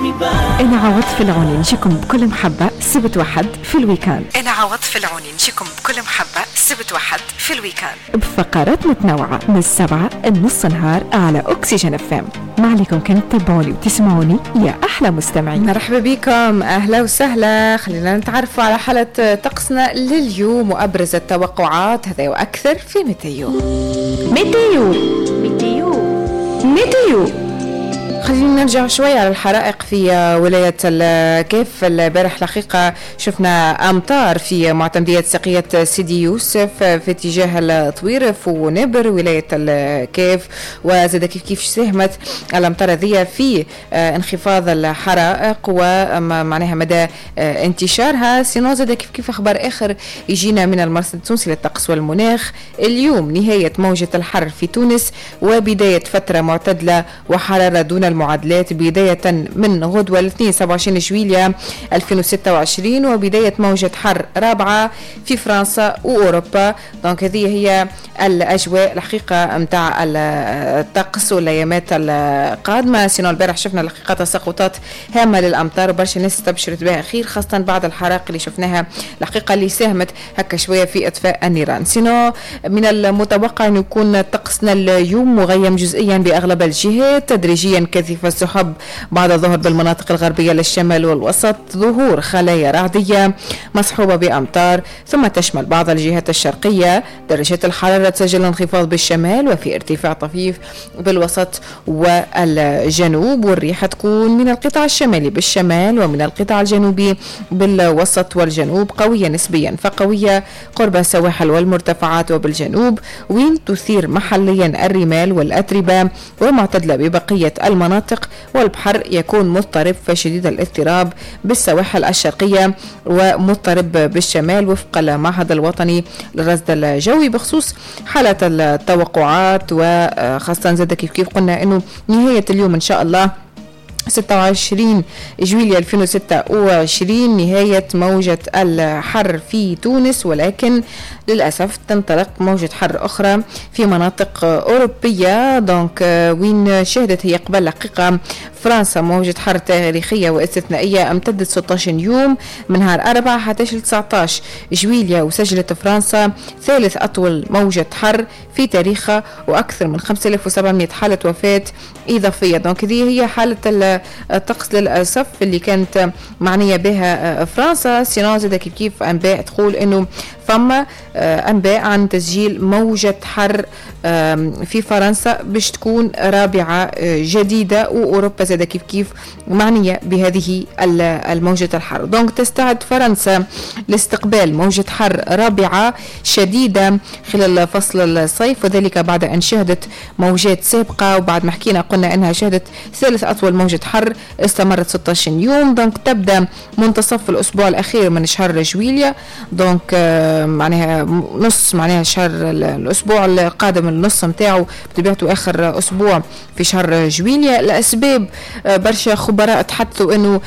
أنا عوض العوني نجيكم بكل محبة سبت وحد في ال week-end. أنا عوض العوني نجيكم بكل محبة سبت وحد في ال week-end بفقرات متنوعة من 7 لنص نهار على أكسجين FM. ما عليكم كان تتابعوني وتسمعوني يا أحلى مستمعين. مرحبا بكم، أهلا وسهلا. خلينا نتعرفوا على حالة طقسنا لليوم وأبرز التوقعات، هذا وأكثر في météo. météo météo météo. خلينا نرجع شوية على الحرائق في ولاية الكاف. البارح الحقيقة شفنا أمطار في معتمدية ساقية سيدي يوسف في اتجاه الطويرف ونبر ولاية الكاف، وزاد كيف كيف ساهمت الأمطار هذه في انخفاض الحرائق ومعناها مدى انتشارها. sinon زاد كيف كيف أخبار آخر يجينا من المرصد التونسي للطقس والمناخ. اليوم نهاية موجة الحر في تونس وبداية فترة معتدلة وحرارة دون المعادلات بداية من غدوة الاثنين 27 جويلية 2026، وبداية موجة حر رابعة في فرنسا وأوروبا. donc هذه هي الأجواء الحقيقة متاع الطقس والأيامات القادمة. sinon البارح شفنا الحقيقة تساقطات هامة للأمطار وبرشا ناس استبشرت بها خير، خاصة بعد الحرائق اللي شفناها الحقيقة اللي ساهمت هكا شوية في إطفاء النيران. sinon من المتوقع أن يكون طقسنا اليوم مغيم جزئيا بأغلب الجهات، تدريجيا كثيف السحب بعد الظهر بالمناطق الغربية للشمال والوسط، ظهور خلايا رعدية مصحوبة بأمطار ثم تشمل بعض الجهات الشرقية. درجات الحرارة تسجل انخفاض بالشمال وفي ارتفاع طفيف بالوسط والجنوب، والريح تكون من القطاع الشمالي بالشمال ومن القطاع الجنوبي بالوسط والجنوب، قوية نسبيا فقوية قرب السواحل والمرتفعات وبالجنوب، وين تثير محليا الرمال والأتربة، ومعتدلة ببقية المناطق، والبحر يكون مضطرب فشديد الاضطراب بالسواحل الشرقية ومضطرب بالشمال وفق المعهد الوطني للرصد الجوي. بخصوص حالة التوقعات وخاصة زاد كيف كيف قلنا انه نهاية اليوم ان شاء الله 26 جويلية 2026 نهاية موجة الحر في تونس، ولكن للأسف تنطلق موجة حر أخرى في مناطق أوروبية. donc وين شهدت هي قبل حقيقة فرنسا موجة حر تاريخية واستثنائية امتدت 16 يوم من نهار 4 حتى 19 جويلية، وسجلت فرنسا ثالث أطول موجة حر في تاريخها وأكثر من 5700 حالة وفاة إضافية. donc هذه هي حالة الطقس للأسف اللي كانت معنية بها فرنسا. sinon زاد كيف كيف أنباء تقول أنه فما أنباء عن تسجيل موجة حر في فرنسا باش تكون رابعة جديدة، وأوروبا زاد كيف كيف معنية بهذه الموجة الحر. donc تستعد فرنسا لاستقبال موجة حر رابعة شديدة خلال فصل الصيف، وذلك بعد أن شهدت موجات سابقة، وبعد ما حكينا قلنا أنها شهدت ثالث أطول موجة حر استمرت 16 يوم. donc تبدأ منتصف الأسبوع الأخير من شهر جويليا، donc معناها نص معناها شهر الأسبوع القادم النص متاعه بطبيعته آخر أسبوع في شهر جويليا. الأسباب برشا خبراء تحدثوا أنه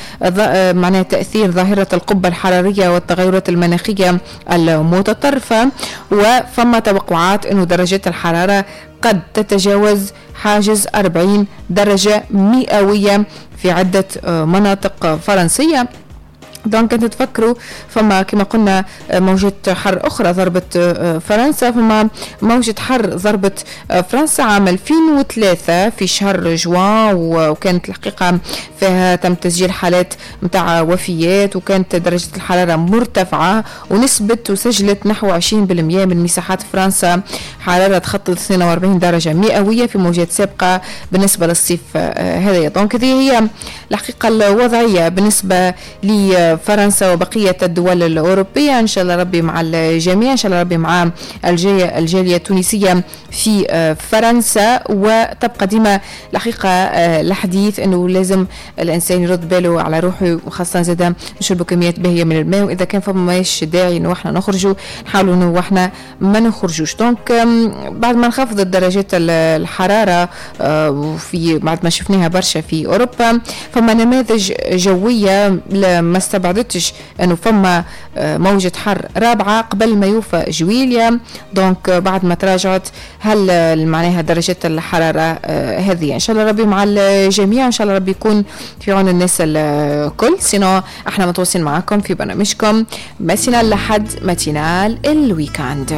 معناها تأثير ظاهرة القبة الحرارية والتغيرات المناخية المتطرفة، وفما توقعات أنه درجات الحرارة قد تتجاوز حاجز 40 درجة مئوية في عدة مناطق فرنسية. donc انت تفكروا فما كما قلنا موجة حر أخرى ضربت فرنسا، فما موجة حر ضربت فرنسا عام 2003 في شهر جوان، وكانت الحقيقة فيها تم تسجيل حالات متاع وفيات، وكانت درجة الحرارة مرتفعة ونسبة وسجلت نحو 20% من مساحات فرنسا حرارة تخطت 42 درجة مئوية في موجات سابقة بالنسبة للصيف هذا. donc هذه هي الحقيقة الوضعية بالنسبة لي فرنسا وبقية الدول الأوروبية. إن شاء الله ربي مع الجميع، إن شاء الله ربي مع الجالية التونسية في فرنسا. وتبقى ديما الحقيقة الحديث أنه لازم الإنسان يرد باله على روحه، وخاصة زادا نشربوا كميات باهية من الماء، وإذا كان فما ماش داعي أنه احنا نخرجوا نحاولوا أنه احنا ما نخرجوش. donc بعد ما انخفضت درجات الحرارة في بعد ما شفناها برشا في أوروبا، فما نماذج جوية ما استبعد استبعدتش انه فما موجة حر رابعة قبل ما يوفى جويليا. donc بعد ما تراجعت هل معناها درجة الحرارة هذه. ان شاء الله ربي مع الجميع، ان شاء الله ربي يكون في عون الناس الكل. sinon احنا متواصلين معكم في برنامجكم matinale لحد matinale ال week-end.